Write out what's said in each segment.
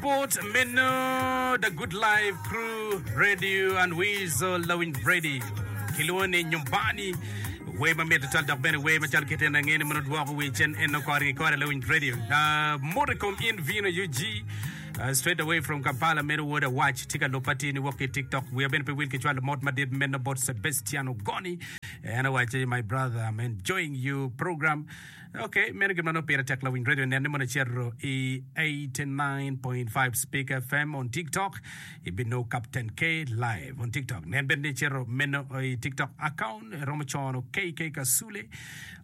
bot meno The Good Life Crew Radio and Weasel Lawiny Radio kilwongo ni Nyumbani wer mamit tutwal dok bene wer macalo kit en ange ni mono dwoko wi cen eno kore ki kore Lawiny Radio. Uh, mot i kom in Vino UG uh, straight away from Kampala meno wod awac tye ka luba tye ni wok ki TikTok wiya bene pe wil ki cwalo mot madit meno bot Sebastian Ogoni en owaco my brother I'm enjoying you program Ok, meno gin ma nongo pire tek lawiny radio nen ni mono icito i 89.5 Speak FM on TikTok, ibinongo Captain K live on TikTok. Nen bene ni icito meno i TikTok account, iromo cono KK Kasule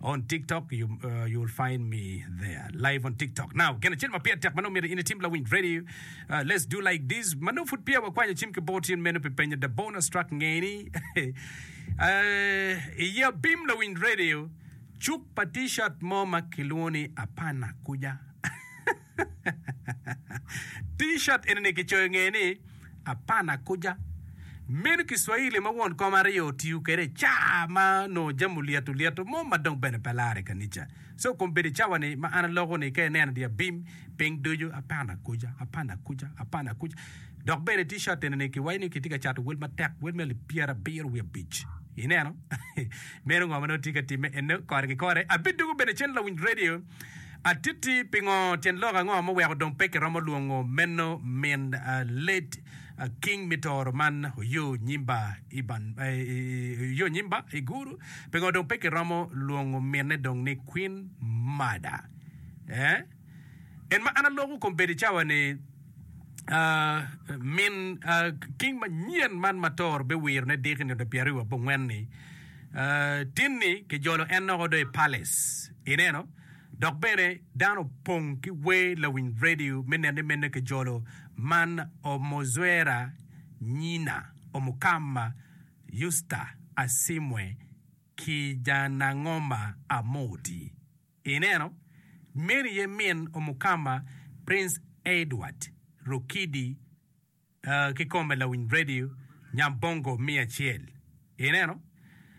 on TikTok, you, uh, you will find me there live on TikTok. Now, gin acel ma pire tek ma nongo myero in itim lawiny radio, uh, let's do like this. Ma nongo pud peya wakwanyo cim ki bot in meno pi penyo the bonus track ngeni. uh, i abim lawiny radio, Cuk pa T-shirt mo ma kilwongo ni Apana Kuja. T-shirt eni-ni kicoyo ngeye ni Apana Kuja. Meno Kiswahili ma won kom aryo otiyo kwede i caa ma onongo jami olyeto lyeto mo ma dong bene pe lare i kanica. So kombeddi cawa-ni ma an aloko-ni ka ineno dye abim piny ducu Apana Kuja, Apana Kuja, Apana Kuja. Dok bene T-shirt eni-ni kiwaco ni kitye ka cato wel matek, wel me alip pyerabiro wiye abic. Ineno? Meno ngo ma nongo tye ka timme eno kore ki kore. Abidwogo bene cen lawiny radio atitti pingo tyen lok ango muweko dong pe kiromo lwongo meno min late King me Toro man Oyo Nyimba Iban Oyo Nyimba Iguru pingo dong pe kiromo lwongo minne dong ni Queen Mada eh En ma an aloko kombeddi cawa ni min king manyen man ma Toro biwiro ne diki nino pyeraryo abongwen ni tin-ni kijolo en noko do i palace ineno dok bene dano opong ki wer lawiny radio me nene mene kijolo man Omozwera Nyina Omukama Yusta Asimwe Kijanangoma Amoti. Ineno, meno aye min Omukama Prince Edward Rukidi kikome lawiny radio Nyambongo miya acel. Ineno?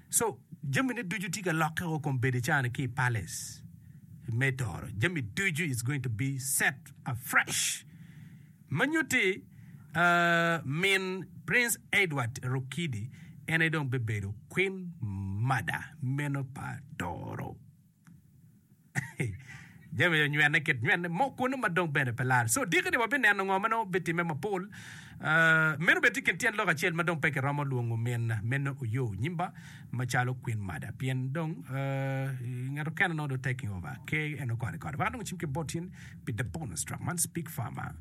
So, jamine ducu tye ka lokke o kombeddi cani ki i palace me Toro. Jami ducu is going to be set afresh. Ma nyutti, min Prince Edward Rukidi en aye dong bibedo Queen Mother meno pa Toro. Jami onywene kit nywene mo kunu ma dong bene pe lare. So diki-ni wabineno ngo ma nongo bitimme mapol. Uh, meno bene tye kin tyen lok acel ma dong pe kiromo lwongo min meno Oyo Nyimba macalo Queen Mother pien dong uh, ngat okene nongo dong taking over ke en okone kore. Wek adong cim ki bot in pi the bonus track man Speak Farmer.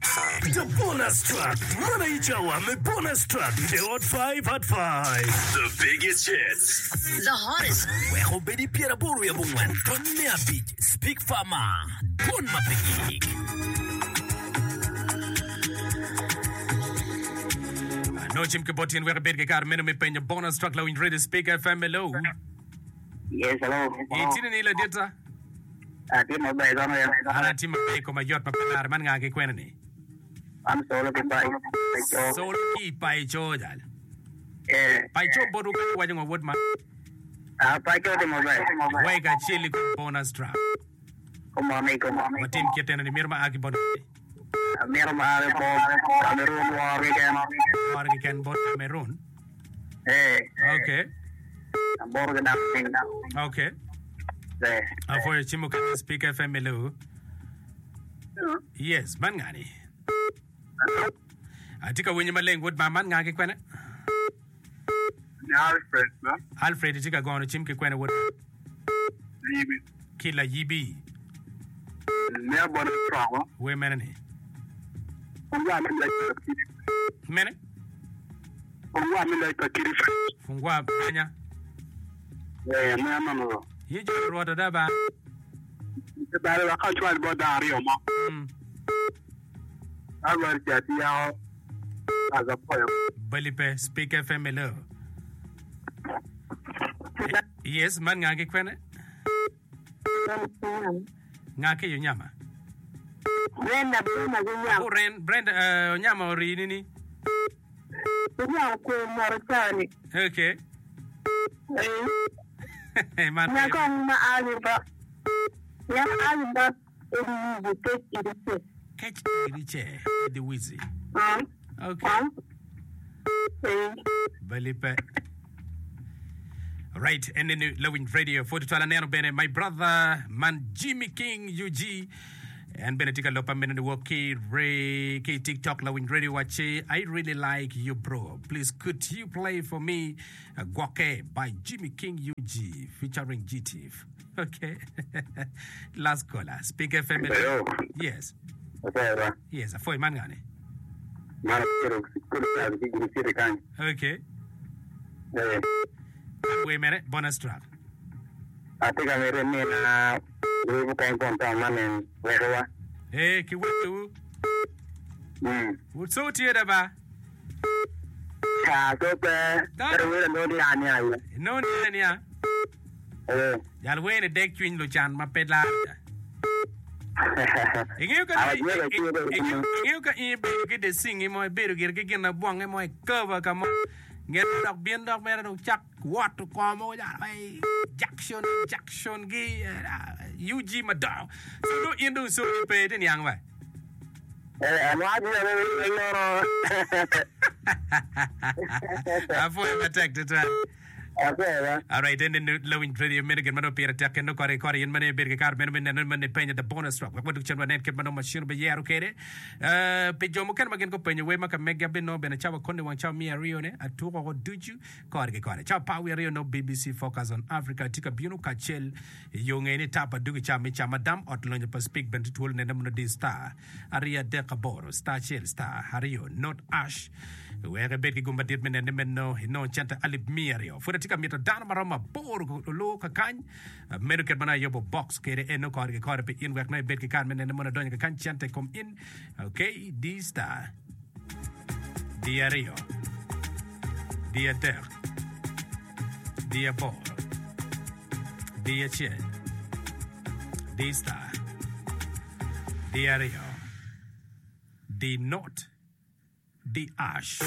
The bonus track, man aye cawa me bonus track i The Hot 5 at 5. The biggest hits. The hottest. Wek obed i pyeraboro wiye abongwen tony me abic Speak Farmer, dwon ma pe gik. Nongo cim ki bot in wek ibed ki kare meno me penyo bonus track lawiny Radio Speak FM hello. Yes, hello. Itye ni ladita? Atye maber kono ya. An atye maber i koma yot ma pe lare. Man nga ki kwene ni? An Solo ki Paico. Solo ki Paico jal. Eh. Paico botwu kany waco ngo wod ma? Ah, Paico tye maber. Wai kacel i kom bonus track. Kumone i komone. Watim kit eno ni mito ma a ki bot Amito ma a ki bot Cameroon woro keken. Woro keken bot Cameroon. Eh. Okay. Aboro ki dako piny. Okay. Eh. Apwoyo cim mukene Speak FM hello. Yes, man ngani. Atye ka winyo maleng wod ma man nga ki kwene? Ni Alfred ba. Alfred itye ka gono cim ki kwene wod? Layibi. Ki layibi. Me abona cwako. Wer mene ni? Fungwa me loc pa kidi. Mene? Fungwa me loc pa kidi. Fungwa anya. Eh, me anono. Ye jo Rwot ada ba. Bale wek acwal bot dano aryo mo. Mm. Alwar ca ati yako azapoyo. Bali pe, Speak FM hello. Yes, man nga ki kwene? Nga ki onyama? Brenda, Brenda ki onyama. Abu Ren, Brenda, uh, onyama ori nini? Onyama kwe moro cani. Okay. Eh. Man Nya kong ma ali ba. Nya ali ba eri yubu tek eri se. Kec iri ce idhi wizi. Okay. Bali pe. Right, en ni Lawiny Radio pwod twal aneno bene my brother man Jimmy King UG en bene tye ka lopa meno ni wok ki re ki TikTok Lawiny Radio wacci I really like you bro please could you play for me Gwokke by Jimmy King UG featuring G-Tiff. Okay. Last caller. Speak FM. Hello. Yes. Apoyo. Yes, afoy man ngani. Man abedo kudu kal ki guru city kany. Okay. Eh. We mere bonus track. Atye ka mito imina wer mukene kom town man en wekowa. Eh, ki wekowu. Mm. So tye da ba. Ca so pe. Ento wer anongo ni ania aye. Inongo ni ania? Eh. Jal wer ni dek cwiny lucan ma pe lar ca. Ingeyo ka ingeyo ka in ibedo ki desingi mo ibedo gire ki gin abwonge mo i cover ka mo nget mo dok bin dok mere dong cak woto kor mogo calo ai Jackson Jackson gi UG madongo so dong in dong soni pe iti niang ba. Apwoyo matek tutwal. Alright, en ni lawiny radio meno gin ma nongo pire tek kendo kore ki kore in ma nongo ibedo ki kare meno me neno ni man ipenyo the bonus track wek wadug cen wanen kit ma nongo machine obiyero kwede. Eh, pi jo mukene ma gin gupenyo wer ma ka megi abinongo bene cawa koni wang cawa miya aryo ne atuko woko ducu kore ki kore. Cawa apar wiye aryo nongo BBC Focus on Africa tye ka bino kacel I yo nge ni tap adugi ca me cam adam ot lonyo pa Speke bene tye twolo nene mono di star aryo adek aboro star acel star aryo not ash wek ibed ki gum madit me nene meno inongo cente alip miya aryo. Pud atye ka mito dano maromo aboro olu kakany meno kit ma nongo ayubo box kede eno kore ki kore pi in wek nongo ibed ki kare me nene mono adonyo kakany cente i kom in ok di star di aryo di adek di aboro di acel, di star, di aryo, di not, di ash.